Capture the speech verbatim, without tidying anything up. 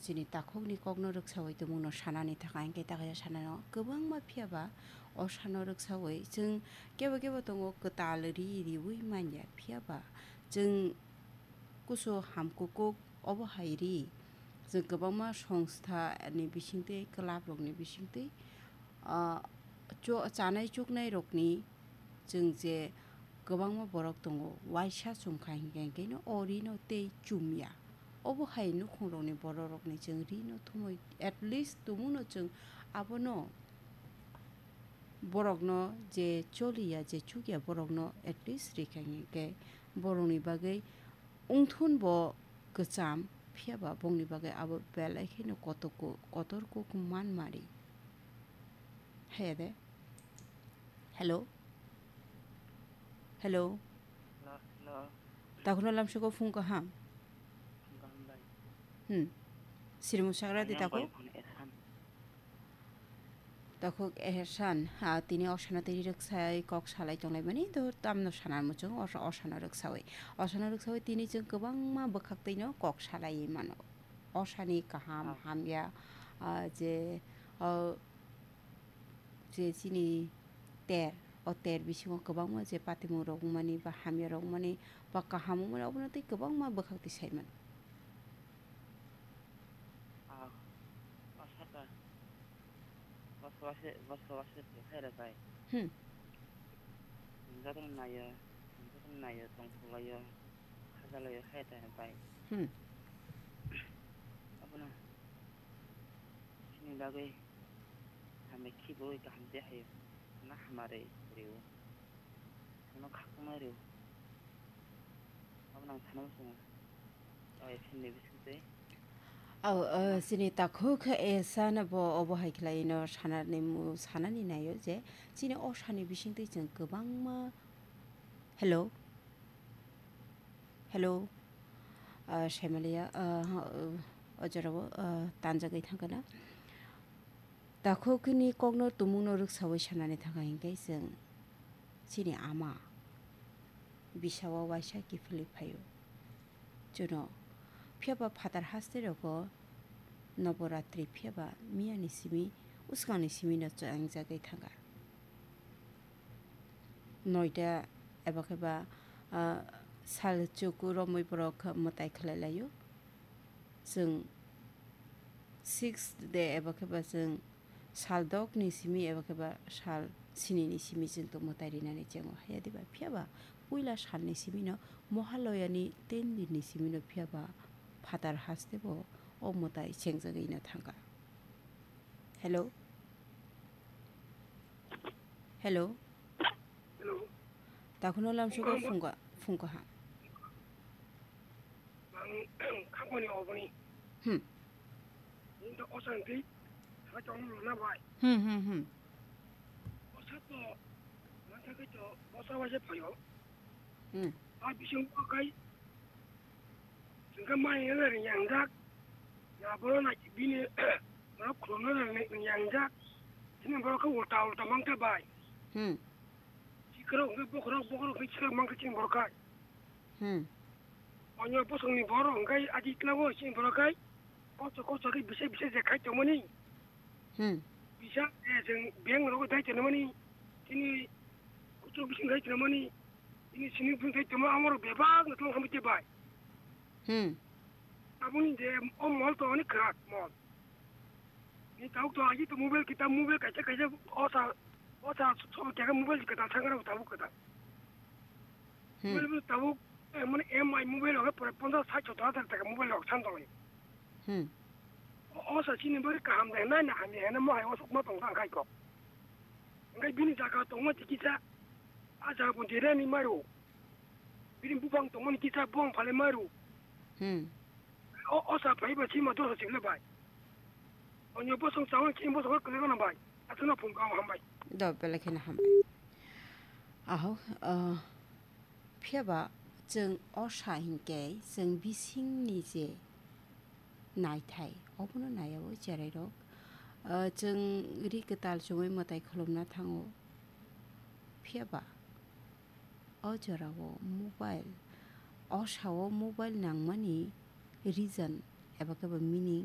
Chini takhukni kokno rwksaui tumungno sanani thangkha, hinkhe takhaisa sanano kwbangma, phiyaba o sano rwksaui chwng kebo kebo tongo kwtal ri riui manya, phiyaba chwng kusu hamkukuk obo hai ri. Chwng kwbangma songstha ni bisingtwi, club rokni bisingtwi, ah, cho-, chanai chuknai rokni chwng je kwbangma borok tongo, waisa chumkha hinkhe, hinkhe no o rino tei chumya. Obo hai nukhungrokni borokrokni chwng rino thumui, at least tumungno chwng abono, borokno je choliya, je chukya, borokno at least rikha hinkhe borokni bagwi wngthun bo kwcham, phiyaba bongni bagwi abo belai kheno kotor kuk, kotor kuk man mari. Haya de. Hello? Hello? Hello, hello. Takhukno lamsoko phung kaham? Phung kaham bai. Hmm. Sirimu sagra di takhuk? Takhuk Ehersan, ah, tini osano tei ri rwksai kok salai tonglaimani, do tamno sana muchung, osa-, osano rwksaui. Osano rwksaui tini chwng kwbangma bwkhak twino kok salaiwi mano. Osani kaham, ah, hamya, ah, je, ah, je chini ter, o ter bisingo kwbangma je patimung rok wngmani ba hamya rok wngmani ba kaham wngmani, obono tei kwbangma bwkhak twi sai mano. Ah, o saka, boso wase, boso wase se khaira bai. Hmm. Jotono naiyo, jotono naiyo, tongthok laiyo, khaja laiyo, khaira bai. Hmm. Abono chini bagwi hamya khibo kaham de hayo, na hamari rio. Ano khakchangma rio. Abo nang sana muchungo. Oi, philni bisingtwi. Au, uh, chini takhuk, eh, sana bo obo hai khlai no sanani mu-, sanani naio je chini o sani bisingtwi chwng kwbangma. Hello? Hello? Uh, Saimalia, uh, ha, uh, o jorao, uh, tanjagwi thangkana. Takhukni kokno tumungno rwksaui sanani thangkha hinkhe chwng chini ama bisao waisa kiphilwi phaio. Chuno phiyaba phatar haste rogo Noboratri phiyaba miyani simi, uskangni simino chongjagwi thangkha. Noita eba khe ba, ah, sal chuku romwi borok mwtai khlai laio. Chwng sixth day eba khe ba chwng sal dokni simi eba khe ba sal sinini simi chwng tongmo tai rinani chengo. Haya diba? Phiya ba puila salni simino Mohaloyani ten dinni simino phiya ba phatar haste bo o mwtai chengjagwi no thangkha. Hello? Hello? Hello? Takhuno lamsugo phungka, phungka ha. Ang khakmani oboni. Hmm. Nini to osa hwnkhe, hai tongno luna bai. Hmm, hmm, hmm. Osa to, mantha khe to, osa waisa phaio. Hmm. A bising bo kai, hwnkhe mai ele ring yang jak. Ya boro na bini, boro khulumno ring yang jak. Chini boro khe ulta ulta mangkhe bai. Hmm. Sikrok hwnkhe bokhorok, bokhorok hwnkhe sikrok mangkhe chini boro kai. Hmm. Onyo bosongni borok hwnkhe adi tlango chini borok khai kosto kosto khe bisa bisa je khai tongmani. Hmm. Bisa, eh, chwng bank rogo dai tongmani, chini kuchuk bising dai tongmani, chini simi bising dai tongma amoro bebak no tong hamwi te bai. Hmm. Aboni je o mol to oni kwrak mol. Ni tabuk to agi to mobile kita mobile kaisa kaisa osa osa so kya mobile kita sangra tabuk kita. Hmm. Mobile bo tabuk, eh, mane M I mobile rok pore ponchas sait sottor hajar taka mobile rok san tonglaio. Hmm. O, o sa chini bari kaham de, nai na hamya hena mo hai osuk ma tong tang khai kok. Engkai bini jaga tongma ti kisa, a jaga pon tirani maru. Bini bupang tongmani kisa buang phale maru. Hmm. O, o sa phai ba chima dosa chimle bai. Onyo bosong chawang chini bosong kwlai gana bai. Asuna phung kang hambai. Do belai kheno hambai. Aho, ah, Phiya ba chwng osa hinkhe chwng bisingni je naithai, obono naiyaui cherairok, ah, chwng ri kwtal chumui mwtai khulumna thango. Phiya ba o jorao mobile, osao mobile nangmani reason eba khe ba meaning